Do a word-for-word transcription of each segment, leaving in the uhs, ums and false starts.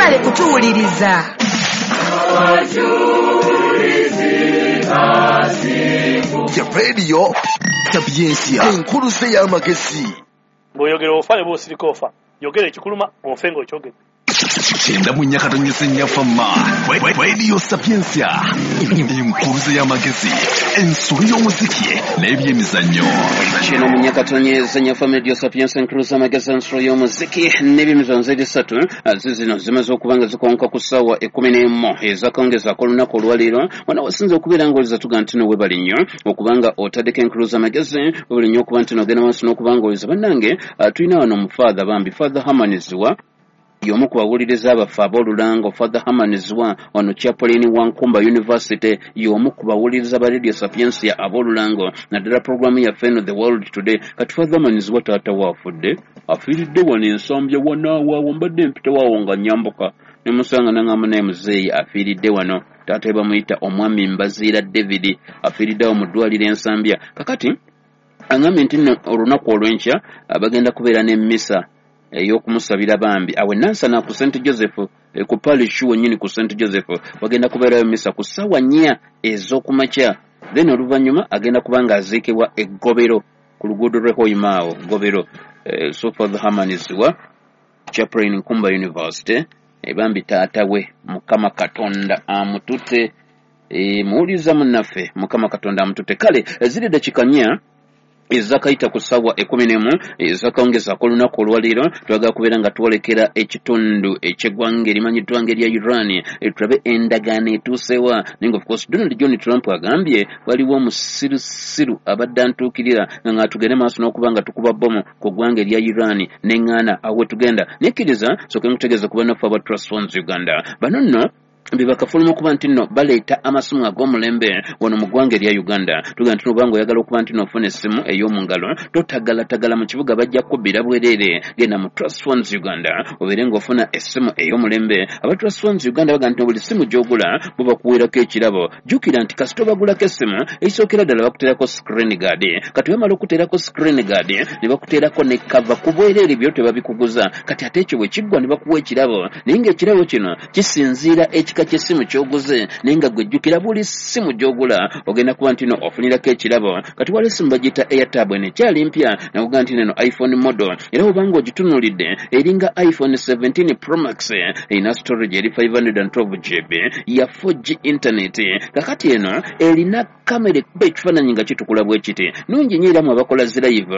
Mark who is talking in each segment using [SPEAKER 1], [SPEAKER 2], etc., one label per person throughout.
[SPEAKER 1] Mwebale kutuwuliriza.
[SPEAKER 2] Ya Radio Sapientia, enkuluze y'amagezi.
[SPEAKER 3] Bw'oyogera ofa ne bw'osirika ofa. Yogera ekikuluma ofe ng'okyogedde.
[SPEAKER 2] Kyenda mu nnya katonyeze nnya fama. Radio Sapientia, enkuluze y'amagezi, ensolo y'omuziki n'ebyemizannyo.
[SPEAKER 4] Kyenda mu nnya katonyeze nnya fama, Radio Sapientia, enkuluze y'amagezi, ensolo y'omuziki n'ebyemizannyo. Zeri ssatu zizino zimaze okuba nga zikonka ku ssaawa ekkumi n'emu ezakawungeezi olunaku olwaleero. Wano wasinze okubeera ng'oliza tuga nti no webale nnyo okubanga otaddeko enkuluze amagezi, webale nnyo okuba nti nogenda maaso n'okuba ng'oliza. Bannange, tulina wano omufaatha, bambi Father Hamanizwa, y'omu ku bawuliriza abaffe ab'olulango. Father Hamanizwa wano chaplain wa Nkumba University, y'omu ku bawuliriza ba Radio Sapientia ab'olulango, naddala programu yaffe eno The World Today. Kati Father Hamanizwa taata waafudde, afiiridde wano Ensambya wanaawo. Mbadde mpitawaawo nga nyambuka ne musanga, nangamba naye muzeeyi afiiridde wano. Taata we bamuyita omwami Mbaziira David, afiiriddeawo mu ddwaliro Ensambya. Kakati angambye nti nno olunaku olw'enkya bagenda kubeera n'emmisa ey'okumusabira bambi awe Nansana ku Saint Joseph, ku parish wennyini ku Saint Joseph. Bagenda kubeerayo misa ku ssaawa nnya ez'okumakya, then oluvannyuma agenda kuba nga aziikibwa eggobero ku luguudo lw'e Hoima awo Gobero. So Father Hamanizwa, chaplain Nkumba University, bambi taata we Mukama Katonda amutute. Muwuliriza munnaffe, Mukama Katonda amutute. Kale ziri dakiika nnya ezakayita ku ssaawa ekkumi n'emu ezakawungezaako olunaku olwaleero. Twagala kubeera nga twolekera ekitundu eky'eggwanga erimanyiddwa nga erya Iran, tulabe endagaano etuusewa. Naye nga of course Donald John Trump agambye waliwo omusirusiru abadde antuukirira nga nga tugende maaso n'okuba nga tukuba bbomu ku ggwanga erya Iran, neŋŋaana. Awo we tugenda nekkiriza sooke nkutegeeza ku bannaffe aba Trust Funds Uganda. Bano nno bebakafuluma okuba nti nno baleeta amasimu ag'omulembe wano mu ggwanga erya Uganda. Tugamba nti obanga oyagala okuba nti nofuna essimu ey'omu ngalo, totagalatagala mu kibuga, bajja kubbira bwereere. Genda mu Trust Funds Uganda obeere ng'ofuna essimu ey'omulembe. Aba Trust Funds Uganda bagamba nti buli ssimu gy'ogula bo bakuweerako ekirabo. Jjukira nti kasita obagulako essimu, ekisookera ddala bakuteerako screen guard. Kati bamala okuteerako screen guard ne bakuteerako ne cover ku bwereere, byo tebabikuguza. Kati ate ekyo bwe kiggwa ne bakuwa ekirabo, naye ng'ekirabo kino kisinziira ekika ky'essimu ky'oguze. Naye nga gwe jjukira buli ssimu gy'ogula ogenda kuba nti no ofunirako ekirabo. Kati waliwo essimu bagiyita Airtab, eno ekyali mpya, nakuga nti neno iPhone model, era obanga ogitunuulidde eringa iPhone seventeen Pro Max. Erina storage eri five hundred twelve G B, ya four G internet. Kakati eno erina kamera ekuba ekifaananyi nga kitukula bwe kiti, nungi nnyo, era mu abakola zi live.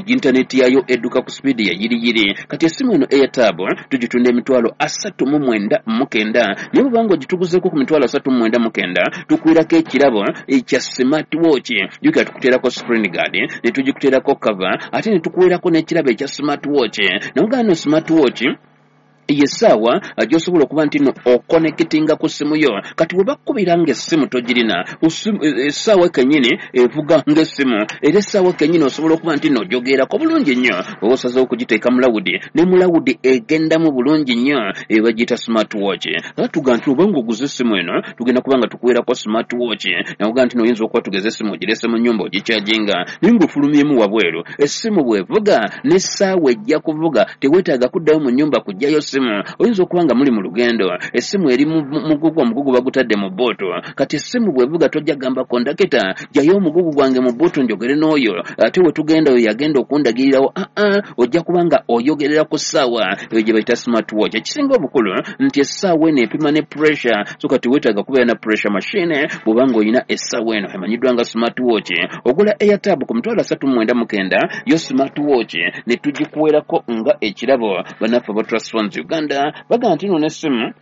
[SPEAKER 4] Internet yayo edduka ku speed ya yiriyiri. Kati essimu eno Airtab tugitunda emitwalo asatu mu mwenda mu kenda, naye bw'obanga ogituguzeeko ku mitwalo asatu mu mwenda mu kenda tukwirako ekirabo ekya smart watch. Jjukira tukuteerako screen guard ne tugikuteerako cover, ate ne tukuweerako n'ekirabo ekya smart watch. Naye no smart watch yessaawa gy'osobola okuba nti no okonekitinga ku ssimu yo. Kati bwe bakkubira ng'essimu togirina, essaawa kennyini evuga ng'essimu, era essaawa kennyini osobola okuba nti no ojogeerako bulungi nnyo. Oba osazeewo okugiteeka mu loud, ne mu loud egendamu bulungi nnyo. Eyo bagiyita smart watch. Era tuga nti oba ng'oguze essimu eno, tugenda kuba nga tukuweerako smart watch. Nakuga nti noyinza okuba tugeze essimu ogirese mu nnyumba ogikyajinga, naye ng'ofulumyemu wabweru, essimu bw'evuga n'essaawa ejja kuvuga, teweetaaga kuddayo mu nnyumba kuggyayo ssimu. Oyinza okuba nga muli mu lugendo, essimu eri mugugu, omugugu bagutadde mu boot. Kati essimu bw'evuga tojja gamba kondakita, "Jjayo omugugu gwange mu boot njogere n'oyo, ate we tugenda oyo yagenda okundagirirawo." Aa, ojja kuba nga oyogerera ku ssaawa eyo gye bayita smart watch. Ekisinga obukulu nti essaawa eno epima ne pressure, so kati weetaaga kubeera na pressure machine bw'oba ng'olina essaawa eno emanyiddwa nga smart watch. Ogula Airtab ku mitwalo asatu mu mwenda mu kenda, yo smart watch ne tugikuweerako nga ekirabo. Bannaffe aba Trust Funds Uganda bagamba nti nno n'essimu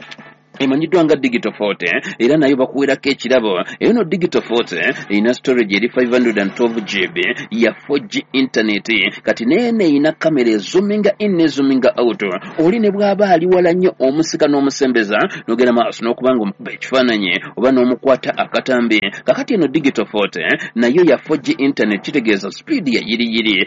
[SPEAKER 4] emanyiddwa nga Digital forty era nayo bakuweerako ekirabo. Eyo no Digital forty erina storage eri five hundred twelve G B, ya four G internet. Kati neeno erina kamera ezoominga in nezoominga out. Oli ne bw'aba ali wala nnyo, omusika n'omusembeza n'ogenda maaso n'okuba nga omukuba ekifaananyi oba n'omukwata akatambi. Kakati eno Digital forty nayo ya four G internet, kitegeeza speed ya yiriyiri.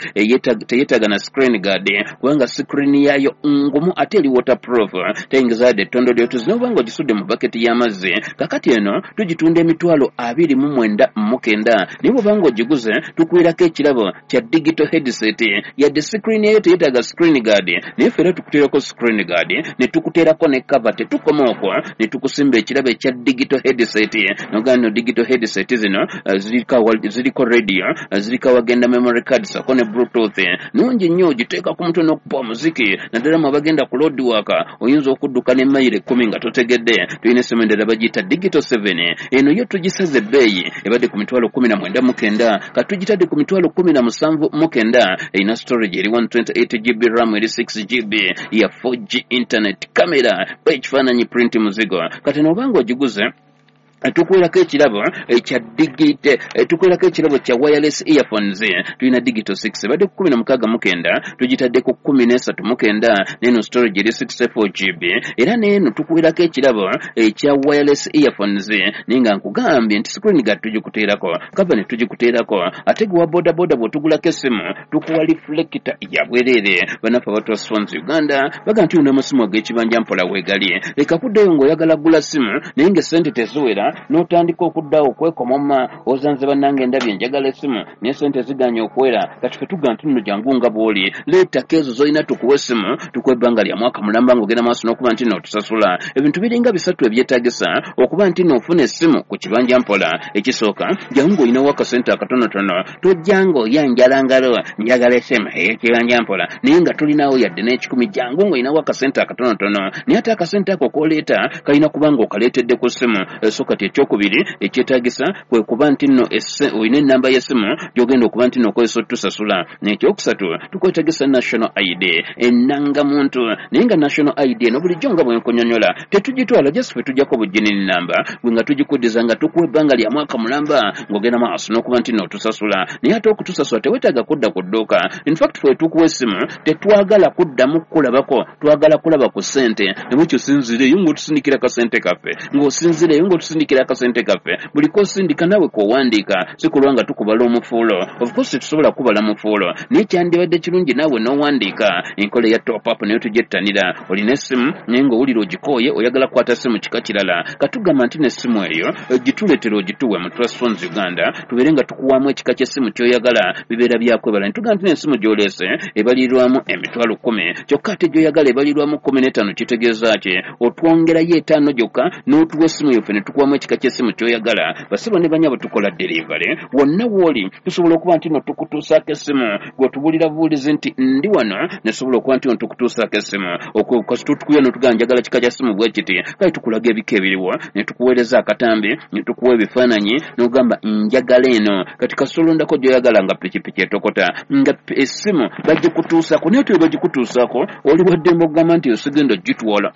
[SPEAKER 4] Teyeetaaga na screen guard kubanga screen yayo ngumu ate eri waterproof, teyingiza yadde ettondo lyotuzi. N'oba ng'ogisudde mu baketi y'amazzi. Kakati eno tugitunda emitwalo abiri mu mwenda mu kenda, naye bw'oba ng'ogiguze tukuweerako ekirabo kya digital headset. Yadde screen eyo teyetaaga screen guard, naye ffe era tukuteerako screen guard ne tukuteerako ne cover. Tetukoma okwo, ne tukusimba ekirabo ekya digital headset. Nogamba no digital headset zino ziriko ziriko radio, ziriko awagenda memory card sako ne bluetooth. Nungi nnyo, ogiteeka ku mutwe n'okupa omuziki, naddala mu abagenda ku road work, oyinza okudduka ne mayiro ekkumi nga totegedde. Tulina essimu endala bagiyita digital seven, eno yo tugisaze ebbeeyi, ebadde ku mitwalo kumi na mwenda mu kenda, katugitadde ku mitwalo kumi na musanvu mu kenda. Erina storage eri one twenty-eight G B, RAM eri six G B, ya four G internet, camera ekifaananyi, print muzigo. Kati n'obanga ogiguze tukuweerako ekirabo ekya digital, tukuweerako ekirabo kya wireless earphones. Tulina digital six, ebadde ku kumi na mukaaga mu kenda, tugitadde ku kumi n'esatu mu kenda, n'eno storage eri sixty-four G B. Era n'eno tukuweerako ekirabo ekya wireless earphones, naye nga nkugambye nti screen guard tugikuteerako, cover ne tugikuteerako, ate gwe wa boda boda bw'otugulako essimu tukuwa reflector ya bwereere. Bannaffe aba Trust Phones Uganda baga nti ono amasimu ag'ekibanja mpola weegali, leka kuddayo ng'oyagala kugula ssimu naye ng'essente teziwera, n'otandika okuddawo okwekomoma, ozanze bannange ndabye njagala essimu naye ssente ziganye okwera. Kati ffe tugamba nti nno jangu nga bw'oli, leetako ezo z'olina tukuwe essimu, tukuwe ebbanga lya mwaka mulamba ng'ogenda maaso n'okuba nti nno otusasula. Ebintu biringa bisatu ebyetaagisa okuba nti nno ofuna essimu ku kibanja mpola. Ekisooka, jangu ng'olinawo akasente akatonotono, tojja ng'oyanjala ngalo njagala essimu ey'ekibanja mpola naye nga tolinawo yadde n'ekikumi. Jangu ng'olinawo akasente akatonotono, naye ate akasente ako k'oleeta kalina kuba ng'okaleetedde ku ssimu. So kati ekyokubiri ekyetaagisa kwe kuba nti nno olina ennamba y'essimu gy'ogenda okuba nti nno okozesa otusasula. N'ekyokusatu, tukwetaagisa national I D, ennangamuntu, naye nga national I D eno bulijjo nga bwe nkunyonnyola tetugitwala, just ffe tujjako bugginini namba gwe nga tugikuddiza nga tukuwa ebbanga lya mwaka mulamba ng'ogenda maaso n'okuba nti nno otusasula. Naye ate okutusasula teweetaaga kudda ku dduuka. In fact ffe tukuwa essimu tetwagala kuddamu kukulabako, twagala kulaba ku ssente. Nebwekyo osinziireeyo ng'otusindikira akasente kaffe, ng'osinziireeyo ng'otusindikira akasente kaffe, buli k'osindika naawe k'owandiika, si kulwa nga tukubala omufuulo. Of course tetusobola kubala mufuulo, naye kyandibadde kirungi naawe n'owandiika. Enkola eya top up nayo tugyettanira. Olina essimu naye ng'owulira ogikooye, oyagala kukwata ssimu kika kirala, katugamba nti n'essimu eyo gituleetera ogituwe mu Trust Phones Uganda, tubeere nga tukuwaamu ekika ky'essimu ky'oyagala, bibeera byakwebala. Ne tugamba nti n'essimu gy'oleese ebalirirwamu emitwalo kkumi, kyokka ate gy'oyagala ebalirirwamu kkumi n'etaano. Kitegeeza ki? Otwongerayo etaano gyokka n'otuwa essimu yaffe ne tukuwaamu ekika ky'essimu ky'oyagala. Basebo ne bannyabo tukola delivery wonna w'oli, tusobola okuba nti nno tukutuusaako essimu. Gwe tubulira buwulizi nti ndi wano, ne tusobola okuba nti nno tukutuusaako essimu. Kasita otukuya n'otugamba njagala kika kya ssimu bwe kiti, kale tukulaga ebika ebiriwo, ne tukuweereza akatambi, ne tukuwa ebifaananyi, n'ogamba njagala eno. Kati kasita olondako gy'oyagala nga pikipiki etokota, nga essimu bagikutuusaako. Naye ate bagikutuusaako oli waddembe okugamba nti osigenda ogitwala,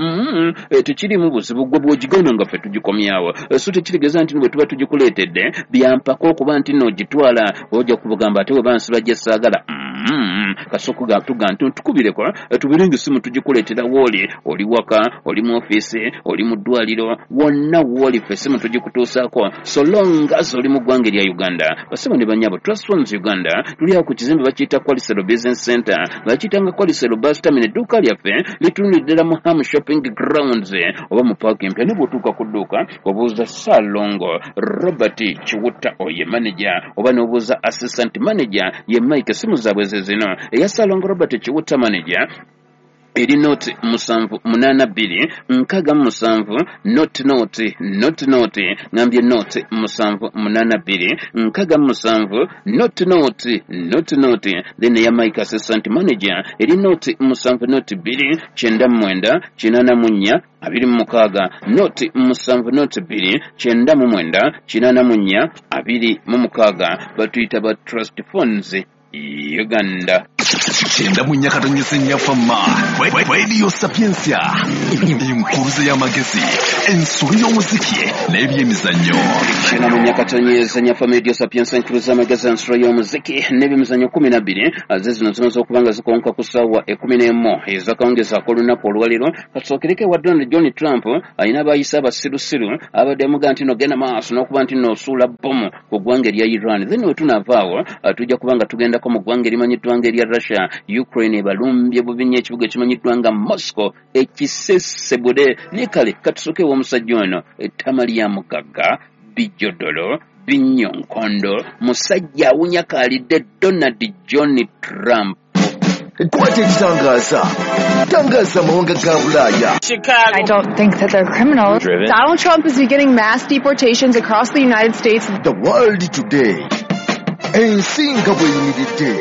[SPEAKER 4] tekiriimu buzibu, gwe bw'ogigenda nga ffe tugikomyawo. So tekitegeeza nti bwe tuba tugikuleetedde byampaka okuba nti nno ogitwala, ojja kubagamba ate bwe bansiba gye saagala. Kasooka tugamba nti tukubireko tubeere ng'essimu tugikuleetera w'oli, oli waka, oli mu ofiisi, oli mu ddwaliro, wonna w'oli ffe essimu tugikutuusaako so long as oli mu ggwanga erya Uganda. Basebo ne bannyabo, Trust Phones Uganda tuli awo ku kizimbe bakiyita Kwalisero Business Center, bakiyitanga Kwalisero Bus Terminal. Edduuka lyaffe litunulidde ddala mu Ham Shopping Grounds oba mu paaka empya. Ne bw'otuuka ku dduuka obuuza Ssalongo Robert Kiwutta oye manager, oba n'obuuza assistant manager ye Mike. Essimu zaabwe ze zino: eya Ssalongo Robert Kiwutta manager eri noti musanvu munaana bbiri nkaaga mu musanvu noti noti noti noti, ngambye noti musanvu munaana bbiri nkaaga mu musanvu noti noti noti noti. Then eya Mike assistant manager eri noti musanvu noti bbiri kyenda mu mwenda kinaana mu nnya abiri mu mukaaga, noti musanvu noti bbiri kyenda mu mwenda kinaana mu nnya abiri mu mukaaga. Batuyita ba Trust Phones Uganda.
[SPEAKER 2] Kyenda mu nnya katonyeze nnya fama Radio Sapientia, enkuruze y'amagezi, ensolo y'omuziki n'ebyemizannyo.
[SPEAKER 4] Kyenda mu nnya katonyeze nnya fama Radio Sapientia, enkuruze y'amagezi, ensolo y'omuziki n'ebyemizannyo kumi na bbiri ze zino zimaze okuba nga zikonka ku ssaawa ekkumi n'emu ez'akawungeezi ak'olunaku olwaleero. Katusookereko ewa Donald John Trump, alina abayise abasirusiru abadde amugaa nti no genda maaso n'okuba nti n'osuula bbomu ku ggwanga erya Iran. Then we tunaavaawo tujja kuba nga tugendako mu ggwanga erimanyiddwa nga erya Russia. Russia. Ukraine ebalumbye bubi nnyo ekibuga ekimanyiddwa nga Moscow ekisesebule. Naye kale katusooke ew'omusajja ono ettama lya mugagga bijjodolo binyonkondo, musajja awunya kaalidde Donald John Trump.
[SPEAKER 2] Kwata ekitangaza, tangaza amawanga ga Bulaaya.
[SPEAKER 1] Chicago.
[SPEAKER 5] I don't think that they're criminals.
[SPEAKER 1] Driven.
[SPEAKER 5] Donald Trump is beginning mass deportations across the United States.
[SPEAKER 2] The World Today. Ensi nga bw'eyimiridde.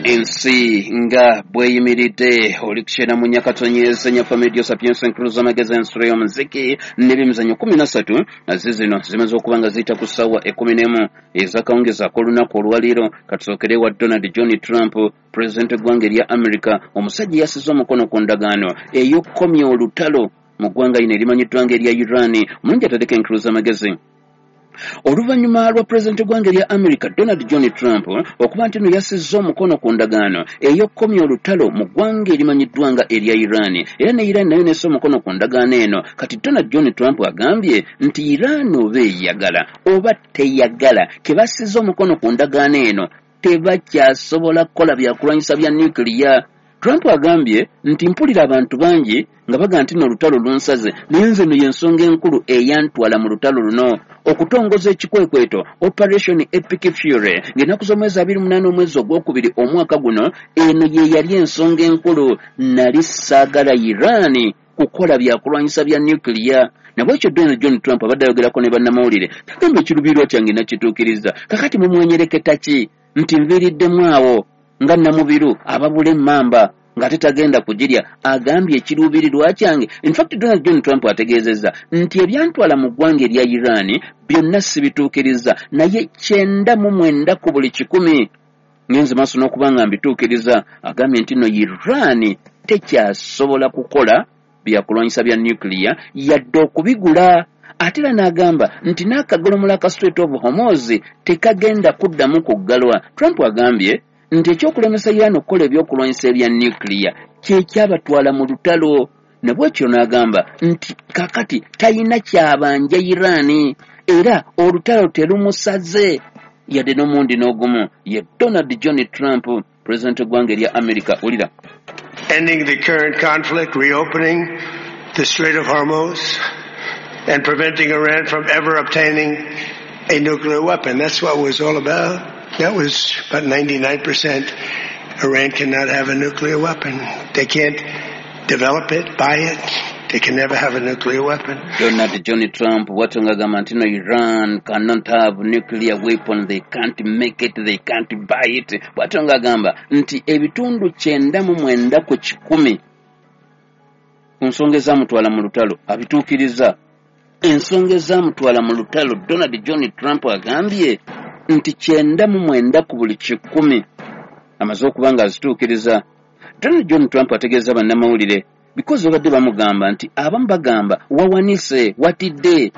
[SPEAKER 4] Ensi nga bw'eyimiridde. Oli kukyera mu Nyakatonyeza Nyafa Media Sapientia Enkuluza Amagezi Ensolo y'Omuziki n'ebyemizannyo kumi na ssatu zizino zimaze okuba nga ziyita ku ssaawa ekkumi n'emu ez'akawungeezi ak'olunaku olwaleero. Katusookere wa Donald John Trump, pulezidenti w'eggwanga erya America. Omusajja yasize omukono ku ndagaano ey'okukomya olutalo mu ggwanga lino erimanyiddwa nga erya Iran. Omulungi ataddeko Enkuluza Amagezi. Oluvannyuma lwa pulezidenti w'eggwanga erya America Donald John Trump okuba nti nno yasizza omukono ku ndagaano ey'okukomya olutalo mu ggwanga erimanyiddwa nga erya Iran, era ne Iran nayo nessa omukono ku ndagaano eno. Kati Donald John Trump agambye nti Iran oba eyagala oba teyagala, ke bassizza omukono ku ndagaano eno tebakyasobola kukola byakulwanyisa bya nuclear. Trump agambye nti mpulira abantu bangi nga bagamba nti nno olutalo lunsaze, naye nze nno y'ensonga enkulu eyantwala mu lutalo luno okutongoza ekikwekweto Operation Epic Fury ng'ennaku z'omwezi abiri munaana omwezi ogwokubiri omwaka guno. Eno ye yali ensonga enkulu, nali saagala Iran kukola byakulwanyisa bya nuclear. Nabwekyo Donald John Trump abadde ayogerako ne bannamawulire, agamba ekiruubirirwa kyange nakituukiriza. Kakati mumwenyereketa ki nti nviiriddemu awo nga Namubiru ababula emmamba ng'ate tagenda kugirya? Agambye ekiruubirirwa kyange. In fact Donald John Trump ategeezezza nti ebyantwala mu ggwanga erya Iran byonna sibituukiriza, naye kyenda mu mwenda ku buli kikumi ngenze maaso n'okuba nga mbituukiriza. Agambye nti nno Iran tekyasobola kukola byakulwanyisa bya nuclear yadde okubigula. Ate era n'agamba nti n'akagolomola ka Strait of Hormuz tekagenda kuddamu kuggalwa. Trump agambye nti ekyokulemesa Iran okukola ebyokulwanyisa ebya nuclear kye kyabatwala mu lutalo. Nabwekyo n'agamba nti kakati talina kyabanja Iran, era olutalo terumusaze yadde n'omundi n'ogumu. Ye Donald John Trump, pulezidenti w'eggwanga erya America. Wulira.
[SPEAKER 6] Ending the current conflict, reopening the Strait of Hormuz, and preventing Iran from ever obtaining a nuclear weapon. That's what it was all about. That was about ninety-nine percent. Iran cannot have a nuclear weapon. They can't develop it, buy it. They can never have a nuclear weapon.
[SPEAKER 4] Donald John Trump bw'atyo ng'agamba nti no Iran cannot have nuclear weapon, they can't make it, they can't buy it. Bw'atyo ng'agamba nti ebitundu kyenda mu mwenda ku kikumi ku nsonga ezaamutwala mu lutalo abituukiriza. Ensonga ezaamutwala mu lutalo Donald John Trump agambye nti kyenda mu mwenda ku buli kikumi amaze okuba nga azituukiriza. Donald John Trump ategeeza bannamawulire because babadde bamugamba nti abamu bagamba wawanise watidde.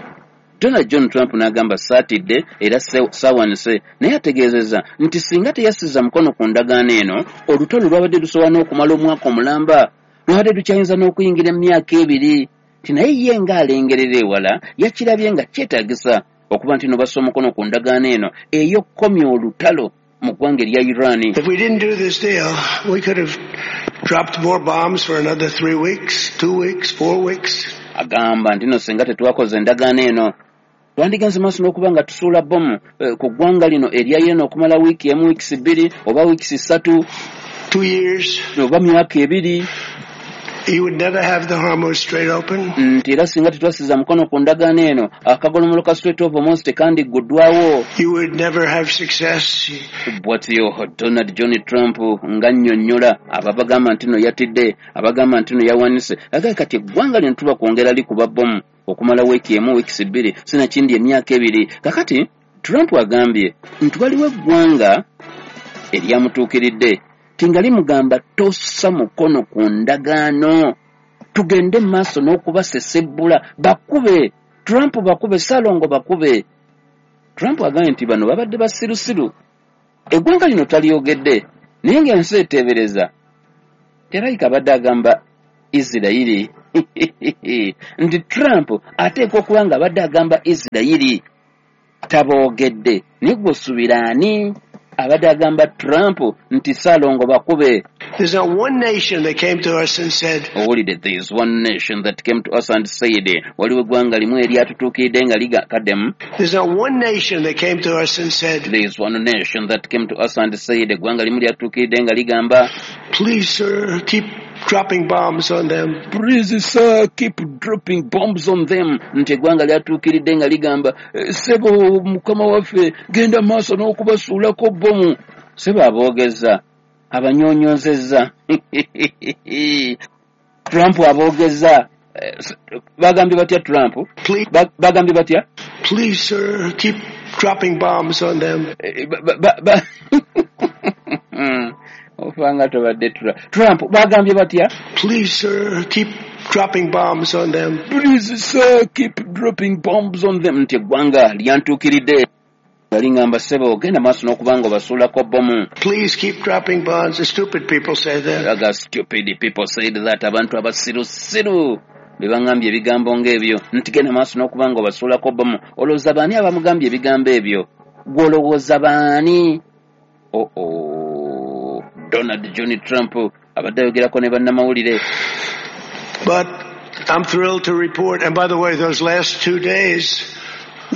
[SPEAKER 4] Donald John Trump n'agamba saatidde era saawanise, naye ategeezezza nti singa teyasiza mukono ku ndagaano eno olutalo lwabadde lusobola n'okumala omwaka omulamba, lwabadde lukyayinza n'okuyingira emyaka ebiri. Nti naye ye ng'alengerera ewala yakirabye nga kyetaagisa okuba nti no bassa omukono ku ndagaano eno ey'okukomya olutalo mu ggwanga erya Iran.
[SPEAKER 6] If we didn't do this deal, we could have dropped more bombs for another three weeks, two weeks, four weeks.
[SPEAKER 4] Agamba nti no singa tetwakoze endagaano eno twandigenze maaso n'okuba nga tusuula bbomu eh, ku ggwanga lino erya Iran okumala wiiki emu, wiikisi bbiri oba wiikisi ssatu,
[SPEAKER 6] Two years.
[SPEAKER 4] oba myaka ebiri.
[SPEAKER 6] You would never have the Hormuz Strait open.
[SPEAKER 4] Nti era singa tetwasiza mukono ku ndagaano eno akagolomolo ka Strait of Hormuz tekandigguddwawo.
[SPEAKER 6] You would never have success.
[SPEAKER 4] Bw'atyo Donald John Trump ng'annyonnyola abo abagamba nti no yatidde, abagamba nti no yawanise. Agambye kati eggwanga lino tuba kwongera likuba bbomu okumala wiiki emu, wiikisi bbiri, sinakindi emyaka ebiri. Kakati Trump agambye nti waliwo eggwanga eryamutuukiridde ti nga limugamba tossa mukono ku ndagaano, tugende mu maaso n'okubasesebbula, bakube Trump, bakube Ssalongo, bakube. Trump agambye nti bano babadde basirusiru, eggwanga lino talyogedde, naye ng'ensi eteebereza terayika abadde agamba Isirayiri nti Trump ateekwa okuba nga abadde agamba Isirayiri taboogedde, naye gwe osuubira ani? Abadde agamba Trump nti Ssalongo bakube.
[SPEAKER 6] There's not one nation that came to us and said,
[SPEAKER 4] owulidde, there is one nation that came to us and said, waliwo eggwanga limu eryatutuukiridde nga liga kaddemu.
[SPEAKER 6] There's not one nation that came to us and said,
[SPEAKER 4] there is one nation that came to us and said, eggwanga limu lyatutuukiridde nga ligamba,
[SPEAKER 6] please sir, keep dropping bombs on them.
[SPEAKER 4] Please sir, keep dropping bombs on them. Nti eggwanga lyatuukiridde nga ligamba, ssebo mukama waffe genda maaso n'okubasuulako bbomu. Ssebo aboogeza, abanyonyozezza. Trump aboogeza. Bagambye batya Trump? Bagambye batya?
[SPEAKER 6] Please sir, keep dropping bombs on them.
[SPEAKER 4] Ofanga tobadde Trump bagambye batya?
[SPEAKER 6] Please sir, keep dropping bombs on them.
[SPEAKER 4] Please sir, keep dropping bombs on them. Nti eggwanga lyantuukiridde galingamba ssebo genda maaso n'okubanga obasuulako bbomu.
[SPEAKER 6] Please keep dropping bombs. The stupid people say that.
[SPEAKER 4] Aga stupid people said that. Abantu abasirusiru be bangambye ebigambo ng'ebyo. Nti genda maaso n'okubanga obasuulako bbomu. Olowooza baani abamugambye ebigambo ebyo? Gw'olowooza baani? Oh oh. Donald John Trump abadde ayogerako ne bannamawulire.
[SPEAKER 6] But I'm thrilled to report, and by the way, those last two days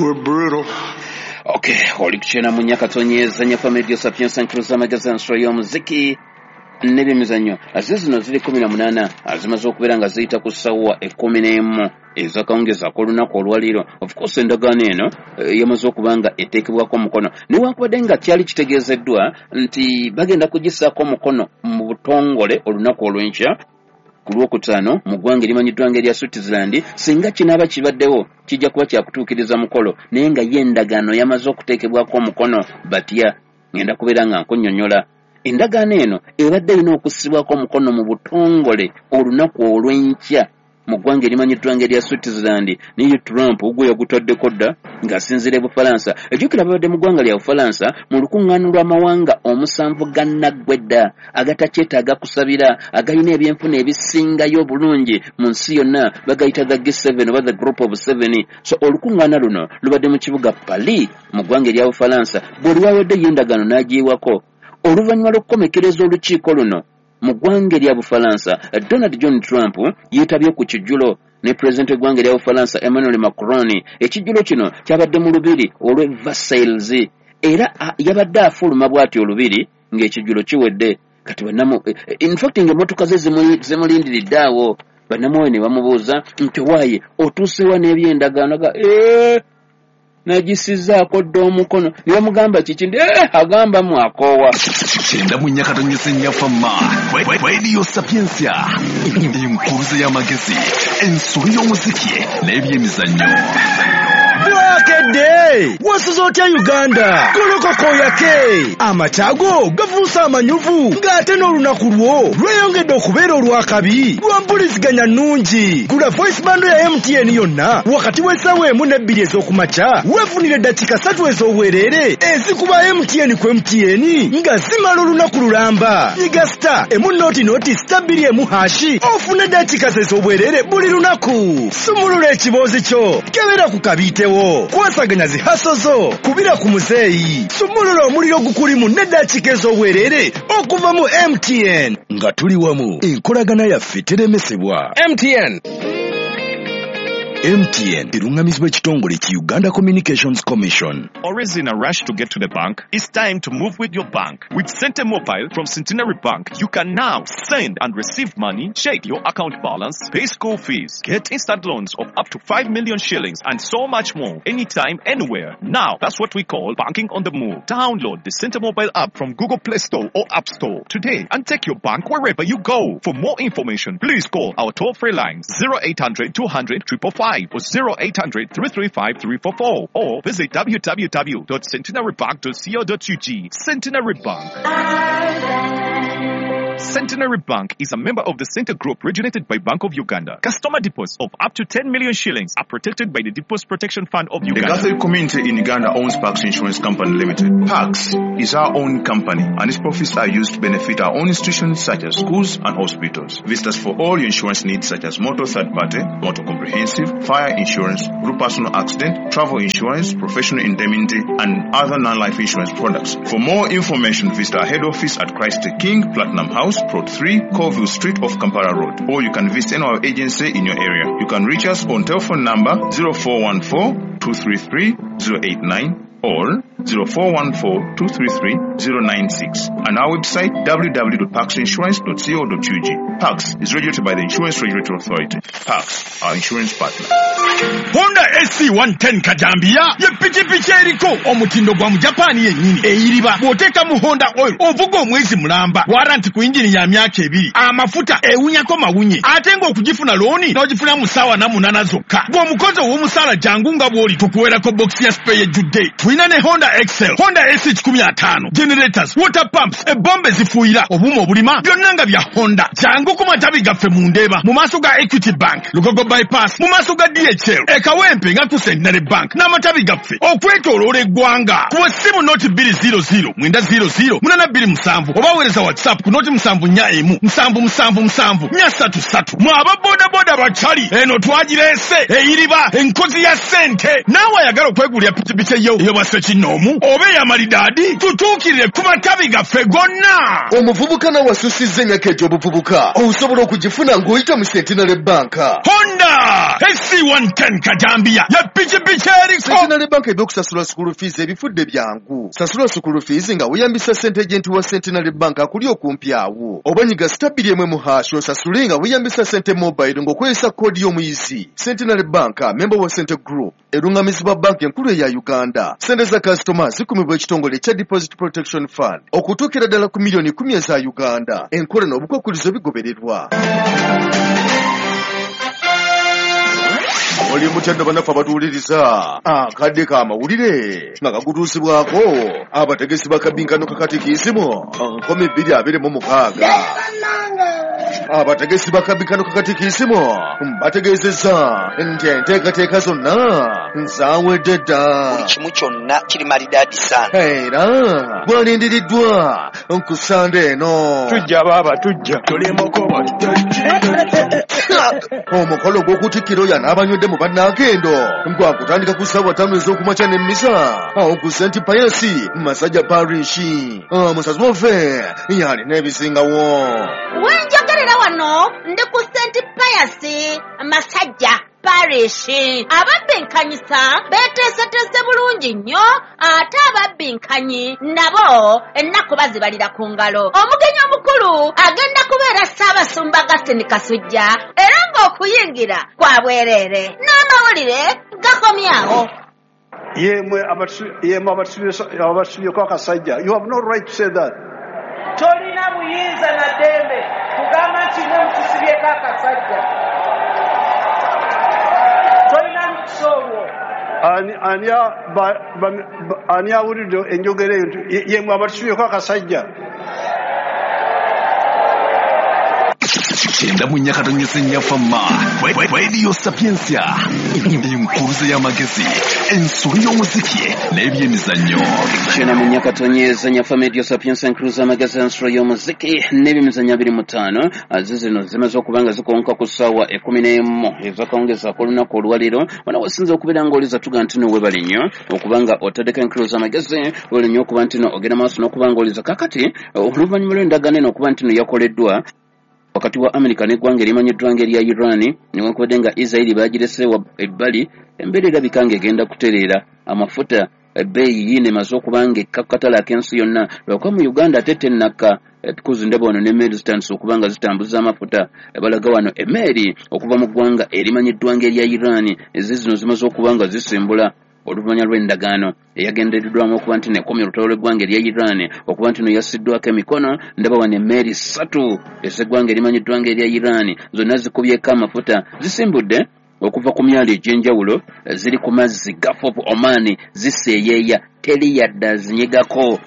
[SPEAKER 6] were brutal.
[SPEAKER 4] Okay, oli kuchena mu nyakatonyeza nyafa media sapiensa nkruza magazine nsolo y'omuziki n'ebyemizannyo. Aze zino ziri kumi na munaana azimaze okubeera nga ziyita ku ssaawa ekkumi n'emu ezakawungeezi ak'olunaku olwaleero. Of course endagaano eno yamaze okuba nga eteekebwako omukono, newankubadde nga kyali kitegeezeddwa nti bagenda kugissaako omukono mu butongole olunaku olw'enkya ku lwokutaano mu ggwanga erimanyiddwa ng'erya Switzerland. Singa kinaaba kibaddewo kijja kuba kyakutuukiriza mukolo, naye nga ye endagaano yamaze okuteekebwako omukono. Batya ngenda kubeera nga nkunnyonnyola. Endagaano eno ebadde erina okussibwako omukono mu butongole olunaku olw'enkya mu ggwanga erimanyiddwa ng'erya Switzerland, naye Trump ogwo yagutaddeko dda ng'asinziira e Bufalansa. Ejjukira babadde mu ggwanga lya Bufalansa mu lukuŋŋaano lw'amawanga omusanvu gannaggwedda agatakyetaaga kusabira, agalina ebyenfuna ebisingayo obulungi mu nsi yonna, bagayita the G seven oba the Group of Seven. So olukuŋŋaana luno lubadde mu kibuga Paris mu ggwanga erya Bufalansa. Bwe lwaweddeyo endagaano n'agiyiwako. Oluvannyuma lw'okukomekereza olukiiko luno mu ggwanga erya Bufalansa, Donald John Trump yeetabye ku kijjulo ne pulezidenti w'eggwanga erya Bufalansa Emmanuel Macron. Ekijjulo kino kyabadde mu lubiri olw'e Versailles, era yabadde afuluma bw'ati olubiri ng'ekijjulo kiwedde. Kati bannamu, in fact ng'emmotoka ze zimulindiridde awo, bannamwoyo ne bamubuuza nti waaye otuusewa n'ebyendagaano? Ga ee nagisizaako dda omukono. Ne bamugamba kiki? Ndi eh agamba mwakoowa.
[SPEAKER 2] Kyenda mu nyakatonyese nnyafamma Radio Sapientia, enkuruze y'amagezi, ensolo y'omuziki n'ebyemizannyo.
[SPEAKER 1] Bwakedde wasuze otya Uganda? Golokoko yake amakyago gafuuse amanyuvu, ng'ate n'olunaku lwo lweyongedde okubeera olw'akabi lwa mpuliziganya nnungi. Gula voice bando ya M T N yonna wakati w'essaawa emu n'ebbiri ez'okumakya, weefunire eddakiika ssatu ez'obwereere ezikuba M T N ku M T N nga zimala olunaku lulamba. Nyiga star emu noti noti star bbiri emu hashi ofune eddakiika ez'obwereere buli lunaku. Sumulula ekiboozi kyo, kebera ku kabiitewo, kwasaganya zihaso zo, kubira ku muzeeyi, sumulula omuliro gukulimu n'eddakiika ez'obwereere okuva mu M T N. Nga tuli wamu, enkolagana yaffe teremesebwa.
[SPEAKER 7] M T N.
[SPEAKER 1] M T N erungamizibwa ekitongole ki Uganda Communications Commission.
[SPEAKER 8] Always in a rush to get to the bank? It's time to move with your bank. With Sente Mobile from Centenary Bank, you can now send and receive money, check your account balance, pay school fees, get instant loans of up to five million shillings, and so much more, anytime, anywhere. Now, that's what we call banking on the move. Download the Sente Mobile app from Google Play Store or App Store today and take your bank wherever you go. For more information, please call our toll-free lines zero eight hundred two hundred triple five or zero eight hundred three three five three four four or visit w w w dot centenary bank dot co dot u g. Centenary Bank.
[SPEAKER 9] Our bank.
[SPEAKER 8] Centenary Bank is a member of the Center Group regulated by Bank of Uganda. Customer deposits of up to ten million shillings are protected by the Deposit Protection Fund of Uganda.
[SPEAKER 7] The Catholic community in Uganda owns Pax Insurance Company Limited. Pax is our own company and its profits are used to benefit our own institutions such as schools and hospitals. Visit us for all your insurance needs such as motor third party, motor comprehensive, fire insurance, group personal accident, travel insurance, professional indemnity and other non-life insurance products. For more information, visit our head office at Christ the King, Platinum House, Plot three, Colville Street off Kampala Road, or you can visit any our agency in your area. You can reach us on telephone number zero four one four, two three three, zero eight nine or zero four one four, two three three, zero nine six and our website w w w dot pax insurance dot co dot u g. Pax is regulated by the Insurance Regulatory Authority. Pax, our insurance partner.
[SPEAKER 1] Honda S C one ten Kajambia ye pikipiki eriko omutindo gwa mu Japan yennyini eyiriba bw'oteeka mu Honda oil ovuga omwezi mulamba waranti ku injini ya myaka ebiri amafuta ewunyako mawunye ate ng'okugifuna looni n'ogifuna mu ssaawa na munaana zokka bw'omukozi ow'omusaala jangu nga bw'oli tukuweerako box ya spare ejjudde. Tulina ne Honda Excel, Honda S C kikumi ataano, generators, water pumps, ebombe zifuuyira, obuuma obulima byonna nga bya Honda. Jangu ku matabi gaffe mu Ndeeba mu maaso ga Equity Bank, Lugogo Bypass, mu maaso ga D H L, e Kawempe nga ku Centenary Bank n'amatabi gaffe okwetooloola eggwanga. Kuba essimu noti bbiri zero zero mwenda zero zero munaana bbiri musanvu oba weereza WhatsApp ku noti musanvu nnya emu musanvu musanvu musanvu nnya ssatu ssatu. Mwe aba bodaboda bakyali eno twagireese eyiriba enkozi ya ssente. Naawe ayagala okwegulira pikipiki eyo ey'obwa kinoomu oba ey'amalidaadi tutuukirire ku matabi gaffe gonna.
[SPEAKER 2] Omuvubuka nawe asusizza emyaka egy'obuvubuka osobola okugifuna ng'oyita mu Centenary Bank.
[SPEAKER 1] Honda S C one ten Kajambia ya pikipiki eriko.
[SPEAKER 2] Centenary Bank ebyokusasula school fees ebifudde byangu. Sasula school fees nga weeyambisa ssente agent wa Centenary Bank akuli okumpi awo. Oba nyiga star bbiri emu mu hash osasule nga weeyambisa ssente mobile ng'okozesa koodi y'omuyizi. Centenary Bank, member wa Center Group, erungamizibwa banki enkulu eya Uganda. Ssente za kasitoma zikumibwa ekitongole ekya Deposit Protection Fund okutuukira ddala ku miliyoni kumi eza Uganda. Enkola n'obukwakkulizo bigobererwa. Oli mutendo bannaffe abatuwuliriza akadde k'amawulire nga kagutuusibwako abategesi ba kabinkano kakatikiisimu nkumi bbiri abiri mu mukaaga. Abategesi ba kabinkano kakatikiisimu bategeezezza nti enteekateeka zonna zaawedde dda.
[SPEAKER 9] Buli kimu kyonna kiri malidaadi sana.
[SPEAKER 2] Era bwalindiriddwa ku Ssande eno.
[SPEAKER 10] Tujja baaba tujja.
[SPEAKER 2] Omukolo gw'okutikkira oyo n'abanywedde mu bannakendo gwakutandika ku ssaawa ttaano ez'okumakya n'emmisa awo ku Saint Pius Masajja Parish. Omusazi waffe yalina ebisingawo.
[SPEAKER 11] Wenjogerera wano ndi ku Saint Pius Masajja Parish. Ababbinkanyisa beeteeseteese bulungi nnyo ate ababbinkanyi nabo ennaku bazibalira ku ngalo. Omugenyi omukulu agenda kubeera Ssaabasumba Augustine Kasujja era ng'okuyingira kwa bwereere. N'amawulire gakomyawo.
[SPEAKER 6] Yemwe abatusubyeko akasajja. You have no right to say that.
[SPEAKER 12] Tolina buyinza na ddembe kugamba nti mwe mutusibyeko akasajja.
[SPEAKER 6] Ani awulidde enjogera eyo nti yemwe abatusubyeko akasajja.
[SPEAKER 13] Kyenda mu nnya katonnyeze nnya Fama Radio Sapientia, enkuruze y'amagezi, ensolo y'omuziki n'ebyemizannyo.
[SPEAKER 4] Kyenda mu nnya katonnyeze nnya Fama Radio Sapientia, enkuruze y'amagezi, ensolo y'omuziki n'ebyemizannyo abiri mu ttaano. Zino zimaze okuba nga zikonka ku ssaawa ekkumi n'emu ezakawungezaako olunaku olwaleero. Wano wasinze okubeera ng'oliza tuga nti no weebale nnyo okuba nga otaddeko enkuruze y'amagezi, weebale nnyo okuba nti no ogenda maaso n'okuba ng'oliza. Kaakati oluvannyuma lw'endagaano eno okuba nti no yakoleddwa wakati wa Amerika n'eggwanga erimanyiddwa ng'erya Iran, newankubadde nga Israeli baagirese ebbali, embeera erabika ng'egenda kutereera. Amafuta ebbeeyi yiino emaze okuba ng'ekka ku katale ak'ensi yonna, lwakuba mu Uganda ate tennakka. Because ndaba wano n'emmeeri zitandise okuba nga zitambuza amafuta. Balaga wano emmeeri okuva mu ggwanga erimanyiddwa ng'erya Iran ezi zino zimaze okuba nga zisimbula oluvannyuma lw'endagaano eyagendereddwamu okuba nti nekomya olutalo lw'eggwanga erya Iran okuba nti no yassiddwako emikono. Ndaba wano emmeeri ssatu ez'eggwanga erimanyiddwa ng'erya Iran zonna zikubyeko amafuta, zisimbudde okuva ku myalo egy'enjawulo, ziri ku mazzi Gulf of Oman, ziseeyeeya, teri yadde azinyegako.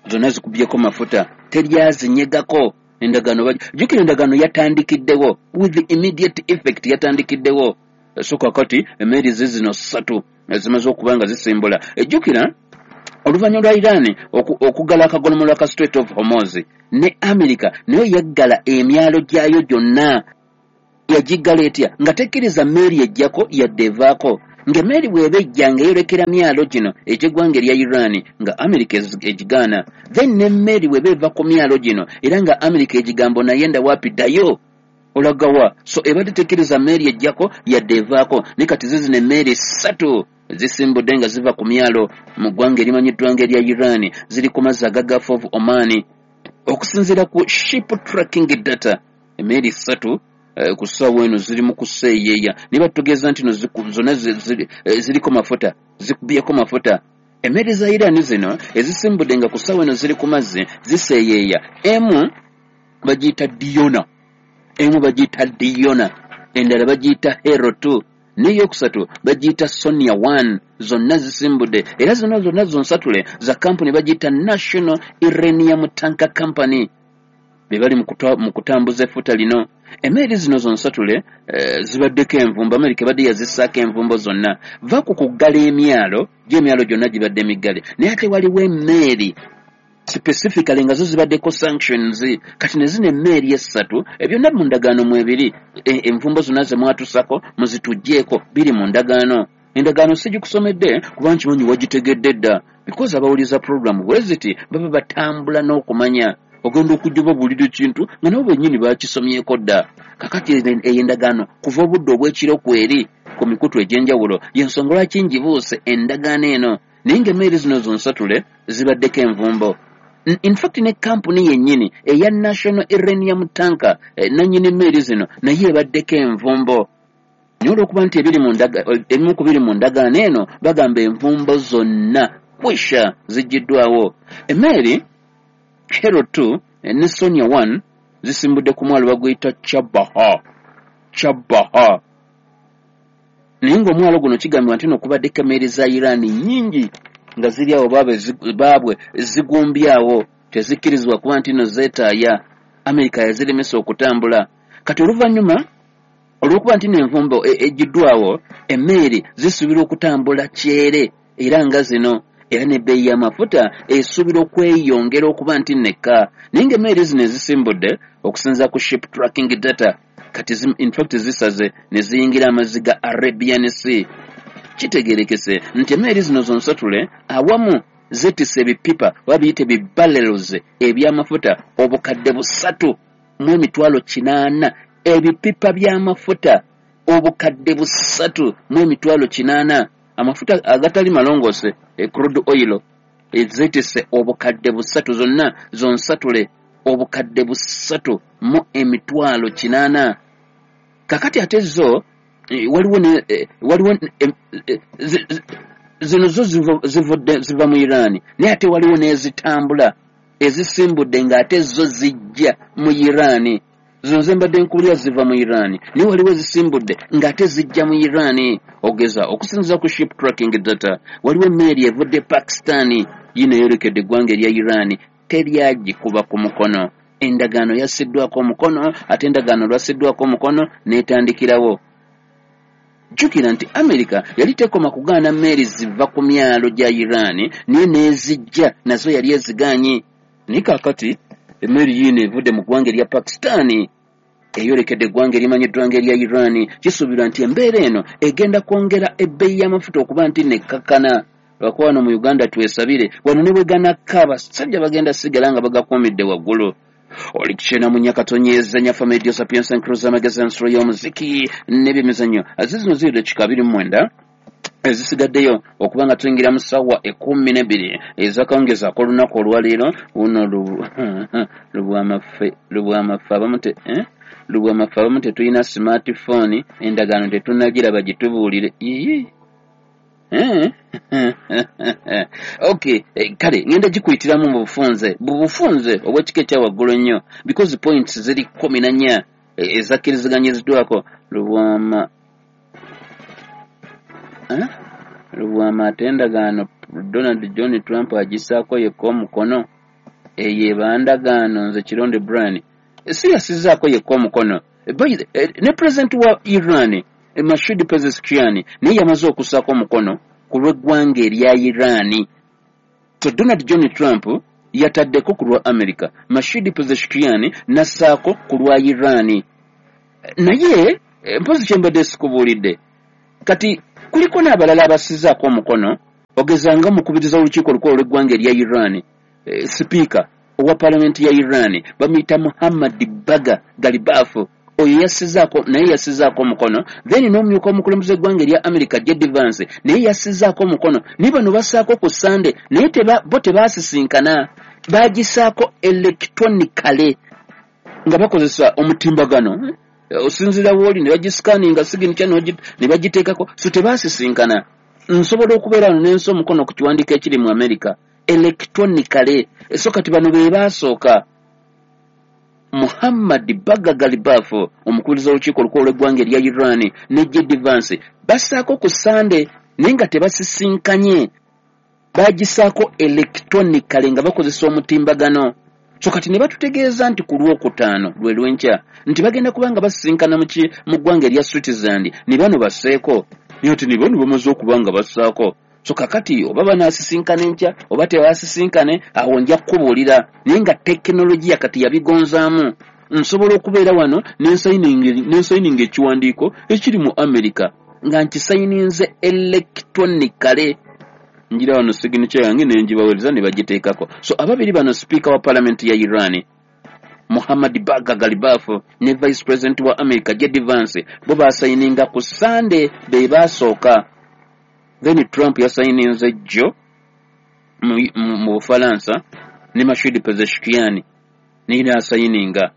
[SPEAKER 4] Zonna zikubyeko mafuta, teri azinyegako. Endagaano, jjukira endagaano yatandikiddewo with the immediate effect, yatandikiddewo. So kakati emmeeri zizino ssatu zimaze okuba nga zisimbula. Ejjukira oluvannyuma lwa Iran okuggala akagolomolo ka Strait of Hormuz, ne America nayo yaggala emyalo gyayo gyonna. Yagiggala etya? Nga tekkiriza mmeeri ejjako yadde evaako. Ng'emmeeri bw'eba ejja ng'eyolekera myalo gino egy'eggwanga erya Iran, nga America egigaana. Then n'emmeeri bw'eba eva ku myalo gino era nga America egigamba naye ndawapi ddayo olagawa. So ebadde tekkiriza mmeeri ejjako yadde evaako. Naye kati zizino emmeeri ssatu zisimbudde nga ziva ku myalo mu ggwanga erimanyiddwa ng'erya Iran, ziri ku mazzi aga Gulf of Oman. Okusinziira ku ship tracking data, emmeeri ssatu ku ssaawa eno ziri mu kuseeyeeya. Naye batutegeeza nti no zonna ziriko mafuta, zikubyeko mafuta. Emmeeri za Iran zino ezisimbudde nga ku ssaawa eno ziri ku mazzi ziseeyeeya. Emu bagiyita Diona, emu bagiyita Diona, endala bagiyita Hero two, n'eyokusatu bagiyita Sonia one. Zonna zisimbudde era zonna zonna zonsatule za kampuni bagiyita National Iranian Tanker Company, be bali mu kutambuza effuta lino. Emmeeri zino zonsatule eh, zibaddeko envumbo. Amerika ebadde yazissaako envumbo zonna. Va ku kuggala emyalo, gy'emyalo gyonna gibadde miggale, naye ate waliwo emmeeri specifically nga zo zibaddeko sanctions. Kati ne zino emmeeri essatu byonna mu ndagaano mwebiri, envumbo zonna ze mwatusako muzituggyeko, biri mu ndagaano. Endagaano sigikusomedde kuba nkimanyi wagitegedde dda, because abawuliza program bwe ziti baba batambula n'okumanya. Ogenda okujja babuulira ekintu nga nabo bennyini bakisomyeko dda. Kakati eyo endagaano kuva obudde obw'ekiro kweri ku mikutu egy'enjawulo, y'ensonga lwaki ngibuuse endagaano eno. Naye ng'emmeeri zino zonsatule zibaddeko envumbo. In fact ne kampuni yennyini eya National Iranian Tanker, nannyini emmeeri zino, naye ebaddeko envumbo. Naye olw'okuba nti ebiri mu ndaga, ebimu ku biri mu ndagaano eno bagamba envumbo zonna kwisha ziggiddwawo. Emmeeri Hero two ne Sonia one zisimbudde ku mwalo baguyita Chabaha, Chabaha. Naye ng'omwalo guno kigambibwa nti nokubaddeko emmeeri za Iran nnyingi nga ziri awo baabwe zigumbyawo, tezikkirizibwa kuba nti no zeetaaya. Amerika yaziremesa okutambula. Kati oluvannyuma olw'okuba nti n'envumbo eggiddwawo, emmeeri zisuubirwa okutambula kyere era nga zino, era n'ebbeeyi y'amafuta esuubirwa okweyongera okuba nti nekka. Naye ng'emmeeri zino ezisimbudde okusinziira ku ship tracking data, kati in fact zisaze ne ziyingira amazzi ga Arabian Sea. Kitegeerekese nti emmeeri zino zonsatule awamu zeetisse ebipipa oba biyite bibarrels eby'amafuta obukadde busatu mu emitwalo kinaana. Ebipipa by'amafuta obukadde busatu mu emitwalo kinaana, amafuta agatali malongoose, crude oil, zeetisse obukadde busatu zonna zonsatule obukadde busatu mu emitwalo kinaana. Kakati ate zo waliwo ne waliwo zino zo zivudde ziva mu Iran, naye ate waliwo n'ezitambula ezisimbudde ng'ate zo zijja mu Iran. Zino ze mbadde nkuwulira ziva mu Iran, naye waliwo ezisimbudde ng'ate zijja mu Iran. Ogeza okusinziira ku ship tracking data, waliwo emmeeri evudde Pakistan yino eyolekedde eggwanga erya Iran, teryagikuba ku mukono. Endagaano yassiddwako omukono, ate endagaano lwassiddwako omukono n'etandikirawo. Jjukira nti Amerika yali tekoma kugaana mmeeri ziva ku myalo gya Iran, naye n'ezijja nazo yali ezigaanyi. Naye kaakati emmeri yiino evudde mu ggwanga erya Pakistan eyolekedde eggwanga erimanyiddwa ng'erya Iran. Kisuubirwa nti embeera eno egenda kwongera ebbeeyi y'amafuta okuba nti nekkakkana. Lwakuba wano mu Uganda twesabire, wano ne bwe ganakka abasajja bagenda sigala nga bagakuumidde waggulu. Oli kukyena mu Nyakatonyeza Nyafa Media Sapiens and Cruiser Magazine nsolo y'omuziki n'ebyemizannyo. Zino ziri dakiika abiri mu mwenda ezisigaddeyo okuba nga tuyingira mu ssaawa ekkumi n'ebbiri ez'akawungeezi ak'olunaku olwaleero. Luno lubwamaffe lubwamaffe abamu te eh? Lubwamaffe abamu tetulina smartphone, endagaano tetunnagiraba gitubuulire. Ii Eh? Okay, kale ngenda gikuyitiramu mu bufunze, mu bufunze obw'ekika ekya waggulu ennyo, because points ziri kkumi na nnya ezakkiriziganyizibwako. Lubwama eh? Lubwama ate endagaano Donald John Trump agissaako yekka omukono, eyo eba ndagaano. Nze Kironde Brian Si yasizaako yekka omukono, ne president wa Iran Masoud Pezeshkian naye yamaze okussaako omukono ku lw'eggwanga erya Iran. So Donald John Trump yataddeko ku lwa America, Masoud Pezeshkian nassaako ku lwa Iran. Naye mpozi kyembadde sikubuulidde, kati kuliko n'abalala abassizaako omukono, ogezanga omukubiriza w'olukiiko olukulu olw'eggwanga erya Iran, e, sipiika owa palamenti ya Iran bamuyita Muhammad Baga Galibafu, oyo yassizaako, naye yassizaako omukono. Then n'omumyuka omukulembeze w'eggwanga erya America J D Vance naye yassizaako omukono. Naye bano bassaako ku Sande, naye teba, bo tebaasisinkana, bagisaako electronically nga bakozesa omutimbagano, osinziira wooli ne bagiscanninga signature ne bagiteekako, so tebaasisinkana. Nsobola okubeera wano n'ensa omukono ku kiwandiiko ekiri mu America electronically. So kati bano be baasooka, Muhammad Baga Galibafu omukubiriza w'olukiiko olukulu olw'eggwanga erya Iran ne J D Vance bassaako ku Sande, naye nga tebasisinkanye, bagisaako electronically nga bakozesa omutimbagano. So kati ne batutegeeza nti ku lwokutaano lwe lw'enkya nti bagenda kuba nga basisinkana mu ggwanga erya Switzerland, ne bano basseeko, naye ati ne bano bamaze okuba nga bassaako. So kakati oba banaasisinkana enkya oba tebaasisinkane, awo nja kukubuulira. Naye nga tekinologiya kati yabigonzaamu, nsobola okubeera wano nensayininga ekiwandiiko ekiri mu America nga nkisayininze electronically, ngira wano signature yange nenjibaweereza ne bagiteekako. So ababiri bano, sipiika wa palamenti ya Iran Muhammad Baga Galibafu ne vice president wa America J D Vance bo basayininga ku Sande, be baasooka. Then Trump yasayininze jjo mu Bufalansa ne Masoud Pezeshkian naye n'asayininga.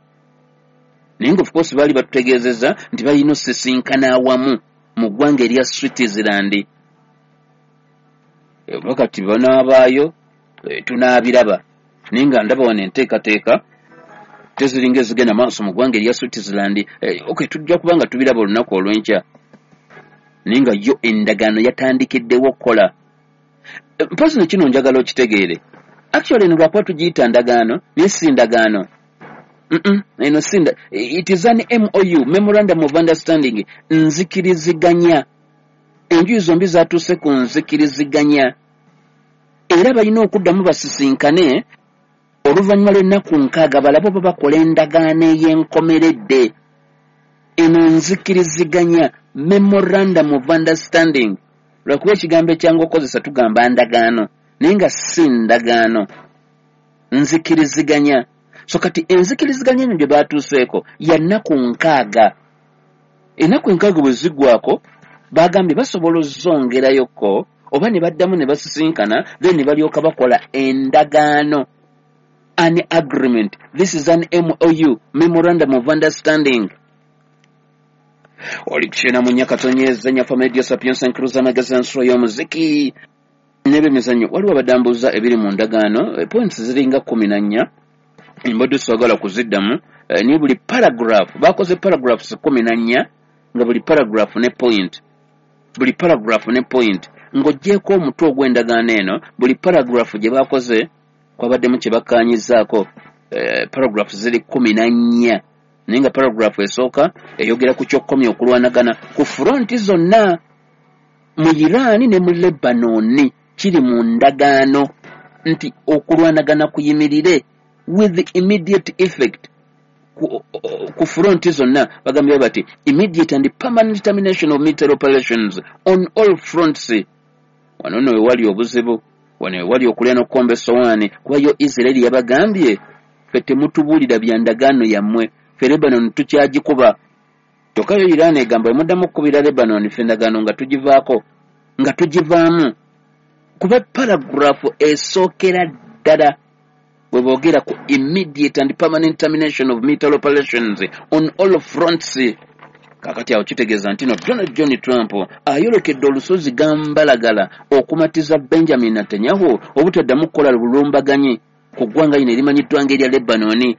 [SPEAKER 4] Naye nga of course baali batutegeezezza nti balina osisinkana awamu mu ggwanga erya Switzerland. Oba kati banaabaayo tunaabiraba, naye nga ndaba wano enteekateeka teziringa ezigenda maaso mu ggwanga erya Switzerland. Okay, tujja kuba nga tubiraba olunaku olw'enkya, naye nga yo endagaano yatandikiddewo okukola. Mpozi ne kino njagala okitegeere, actually eno lwakuba tugiyita ndagaano naye si ndagaano. Eno si, it is an M O U, Memorandum of Understanding, nzikiriziganya. Enjuyi zombi zatuuse ku nzikiriziganya, era balina okuddamu basisinkane oluvannyuma lw'ennaku nkaaga balabe oba bakola endagaano ey'enkomeredde. Eno nzikiriziganya, Memorandum of Understanding, lwakuba ekigambo ekyangu okukozesa tugamba ndagaano, naye nga si ndagaano, nzikiriziganya. So kati enzikiriziganya eno gye baatuuseeko ya nnaku nkaaga. Ennaku enkaaga bwe ziggwako bagambye basobola ozongerayoko oba ne baddamu ne basisinkana, then ne balyoka bakola endagaano, an agreement. This is an M O U, Memorandum of Understanding. Oli kukyena mu Nyakatonyeza Nyafa Media Sapienza Cruiser Magazine nsolo y'omuziki n'ebyemizannyo. Waliwo abadambuza ebiri mu ndagaano, points ziringa kkumi na nnya, mbadde saagala kuziddamu, naye buli paragraph bakoze paragraphs kkumi na nnya, nga buli paragraph ne point, buli paragraph ne point. Ng'oggyeeko omutwe ogw'endagaano eno, buli paragraph gye bakoze kwabaddemu kye bakkaanyizaako. Paragraph ziri kkumi na nnya, naye nga paragraph esooka eyogera ku ky'okkomya okulwanagana ku fronti zonna mu Iran ne mu Lebanon. Kiri mu ndagaano nti okulwanagana kuyimirire with immediate effect ku, ku fronti zonna. Bagambye bati immediate and permanent termination of military operations on all fronts. Wano nno wewali obuzibu, wano wewali okulya n'okukomba essowaani, kuba yo Israeli yabagambye ffe temutubuulira bya ndagaano yammwe, ffe Lebanon tukyagikuba. Kyokka yo Iran egamba emuddamu okukubira Lebanon, ffe endagaano nga tugivaako, nga tugivaamu. Kuba paragraph esookera ddala bwe boogera ku immediate and permanent termination of military operations on all fronts. Kakati awo kitegeeza nti no Donald John Trump ayolekedde olusozi gambalagala okumatiza Benjamin Netanyahu obutaddamu kukola bulumbaganyi ku ggwanga lino erimanyiddwa ng'erya Lebanon.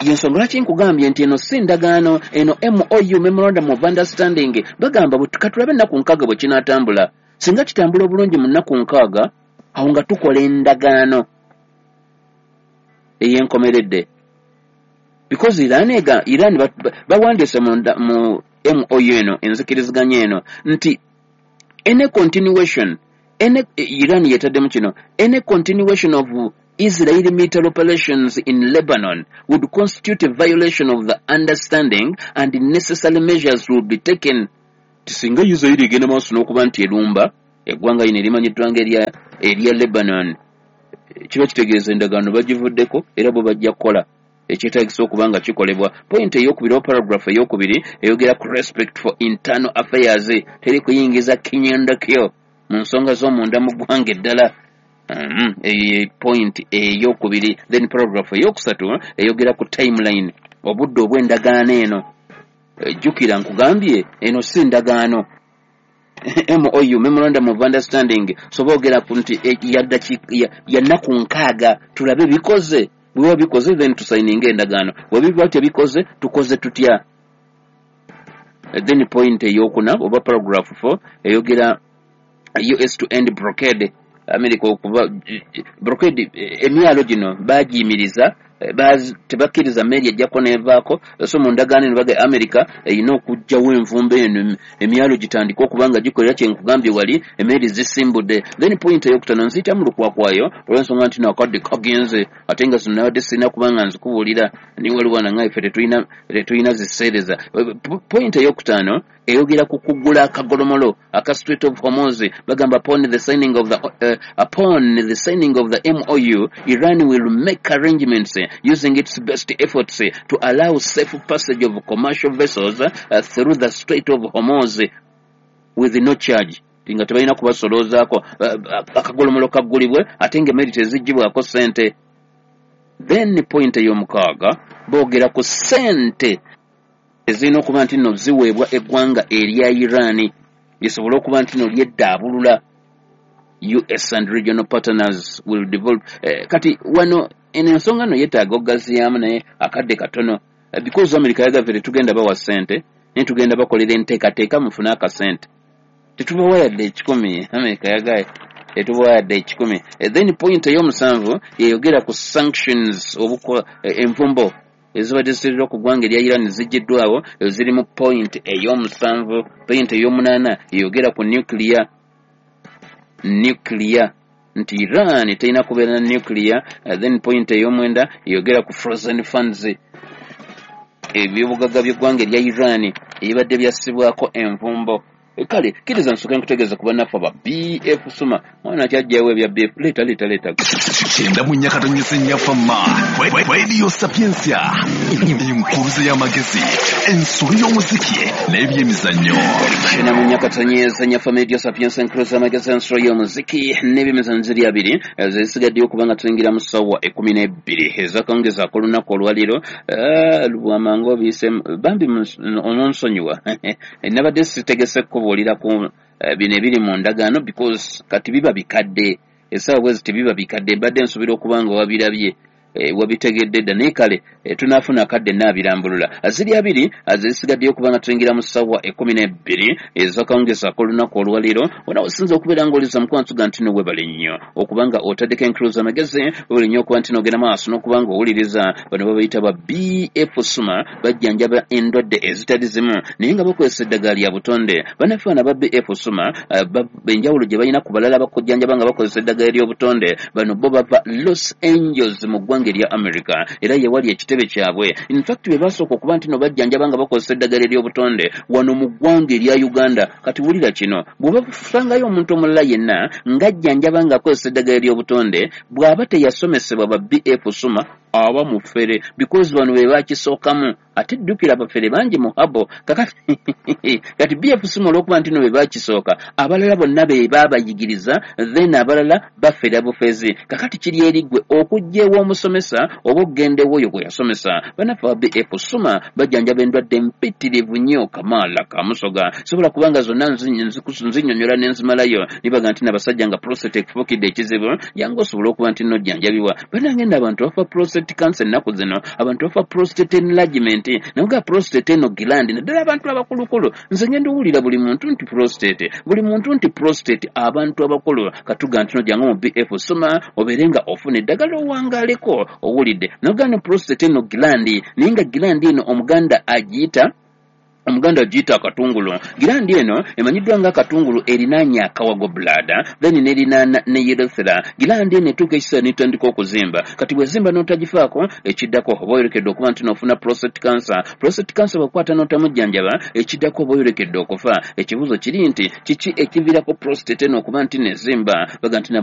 [SPEAKER 4] Yensonga lwaki nkugambye nti eno si ndagaano, eno M O U, Memorandum of Understanding. Bagamba katulabe ennaku nkaaga bwe kinaatambula. Singa kitambula obulungi mu nnaku nkaaga, awo nga tukola endagaano ey'enkomeredde. Because Iran ega Iran bawandiise mu mu M O U eno, enzikiriziganya eno, nti any continuation, any Iran yetaddemu kino, any continuation of Israeli military operations in Lebanon would constitute a violation of the understanding and necessary measures will be taken. Singa Israeli egenda maaso n'okuba nti erumba eggwanga lino erimanyiddwa nga erya erya Lebanon, kiba kitegeeza endagaano bagivuddeko era bo bajja kukola ekyetaagisa okuba nga kikolebwa. Point eyokubiri oba paragraph eyokubiri eyogera ku respect for internal affairs, teri kuyingiza kinyendakyo mu nsonga z'omunda mu ggwanga eddala. Mm, e point eyokubiri. Then paragraph eyokusatu eyogera ku timeline, obudde obw'endagaano eno. Jjukira nkugambye eno si ndagaano, M O U, Memorandum of Understanding, so boogera ku nti ya nnaku nkaaga tulabe bikoze. Bwe bikoze then tusayininga endagaano, bwe biba tebikoze tukoze tutya. Then point eyokuna oba paragraph four eyogera U S to end blockade. America okuba blockade emyalo gino bagiyimiriza, tebakkiriza mmeeri ejjako n'evaako. So mu ndagaano eno baga America erina okuggyawo envumbo eno, emyalo gitandike okuba nga gikolera kye nkugambye wali emmeeri zisimbudde. Then point eyokutaano nziyitamu lukwakwayo olw'ensonga nti nakadde kagenze, ate nga zino nabadde sirina kuba nga nzikubuulira, naye waliwo nange ffe tetulina tetulina ziseereza. Point eyokutaano eyogera ku kuggula akagolomolo aka Strait of Hormuz. Bagamba upon the signing of the uh, upon the signing of the M O U, Iran will make arrangements using its best efforts to allow safe passage of commercial vessels uh, through the Strait of Hormuz with no charge. Nga tebalina kubasoloozaako, uh, akagolomolo kaggulibwe ate ng'emmeri teziggyibwako ssente. Then point ey'omukaaga boogera ku ssente ezirina okuba nti nno ziweebwa eggwanga erya Iran lisobole okuba nti nno lyeddaabulula. U S and regional partners will develop. Eh, kati wano eno ensonga nno yeetaaga okugaziyaamu naye akadde katono, eh, because America yagavve tetugenda bawa ssente naye tugenda bakolera enteekateeka mufune akasente, tetubawa yadde ekikumi. America yagaye tetubawa yadde ekikumi. Eh, then point ey'omusanvu yeyogera ku sanctions, obuko eh, envumbo ezibadde ziteereddwa ku ggwanga erya Iran ziggiddwawo, ziri mu point ey'omusanvu. Point ey'omunaana eyogera ku nuclear, nuclear nti Iran terina kubeera na nuclear. Then point ey'omwenda eyogera ku frozen funds, ebyobugagga by'eggwanga erya Iran ebibadde byassibwako envumbo. Kale kkiriza nsooke nkutegeeza ku bannaffe aba B F Suma. Mwana kyajjawo ebya B F, leeta leeta leeta.
[SPEAKER 13] Kyenda mu nnya katonyeze nnyaffe ma Radio Sapientia, enkuruze y'amagezi, ensolo y'omuziki n'ebyemizannyo.
[SPEAKER 4] Kyenda mu nnya katonyeze nnyaffe Radio Sapientia, enkuruze y'amagezi, ensolo y'omuziki n'ebyemizannyo ziri abiri zisigaddeyo okuba nga tuyingira mu ssaawa ekkumi n'ebbiri ez'akawungeezi ak'olunaku olwaleero. Lubwamangu obiyise bambi ononsonyiwa, nabadde sitegese kubuulira ku bino ebiri mu ndagaano because kati biba bikadde, essaawa bwe ziti biba bikadde, mbadde nsuubira okuba nga wabirabye, wabitegedde dda, naye kale tunaafuna akadde naabirambulula. Ziri abiri zisigaddeyo okuba nga tuyingira mu ssaawa ekkumi n'ebbiri ez'akawungeezi ak'olunaku olwaleero. Ona osinza okubeera ng'oliza mukwansuga nti no weebale nnyo okuba nga otaddeko enkuluza amagezi, weebale nnyo okuba nti n'ogenda maaso n'okuba ng'owuliriza. Bano babayita ba B F Suma, bajjanjaba endwadde ezitali zimu naye nga bakozesa eddagala lya butonde. Bannaffe bano aba B F Suma enjawulo gye balina ku balala bakujjanjaba nga bakozesa eddagala ery'obutonde, bano bo bava Los Angeles mu ggwanga erya America, era ye wali ekitebe kyabwe. In fact be basooka okuba nti no bajjanjaba nga bakozesa eddagala ery'obutonde wano mu ggwanga erya Uganda. Kati wulira kino, bw'oba osangayo omuntu omulala yenna ng'ajjanjaba ng'akozesa eddagala ery'obutonde, bw'aba teyasomesebwa ba B F Suma aba mufere, because bano be bakisookamu. Ate ddukira abafere bangi mu habo kakati kati B F Suma olw'okuba nti no be bakisooka, abalala bonna be baabayigiriza, then abalala bafera bufezi. Kakati kiri eri ggwe okujja ew'omusomesa oba okugenda ew'oyo gwe yasomesa. Bannaffe aba B F Suma bajjanjaba endwadde mpitirivu nnyo kamaala kamusoga, sobola kubanga zonna nzinnyonnyola ne nzimalayo. Nibaga nti n'abasajja nga prostate ekufuukidde ekizibu, jangu osobole okuba nti nno ojjanjabibwa. Bannange nno abantu bafa prostate Prostate cancer ennaku zino abantu bafa prostate enlargement, naye ga prostate eno gland, naddala abantu abakulukulu. Nze ngenda owulira buli muntu nti prostate, buli muntu nti prostate. Abantu abakulu katuga nti nojanga mu B F soma obeere nga ofuna eddagala owangaleko, owulidde? Naye ne prostate eno gland, naye nga gland eno Omuganda agiyita Omuganda agiyita akatungulu. Gland eno emanyiddwa nga akatungulu, erinaanye akawago, bladder, then nerinaana ne urethra. Gland eno etuuka ekiseera netandika okuzimba. Kati bwezimba n'otagifaako, ekiddako oba oyolekedde okuba nti nofuna prostate cancer. Prostate cancer bwekwata n'otamujjanjaba, ekiddako oba oyolekedde okufa. Ekibuuzo kiri nti kiki ekiviirako prostate eno okuba nti nezimba? Baga nti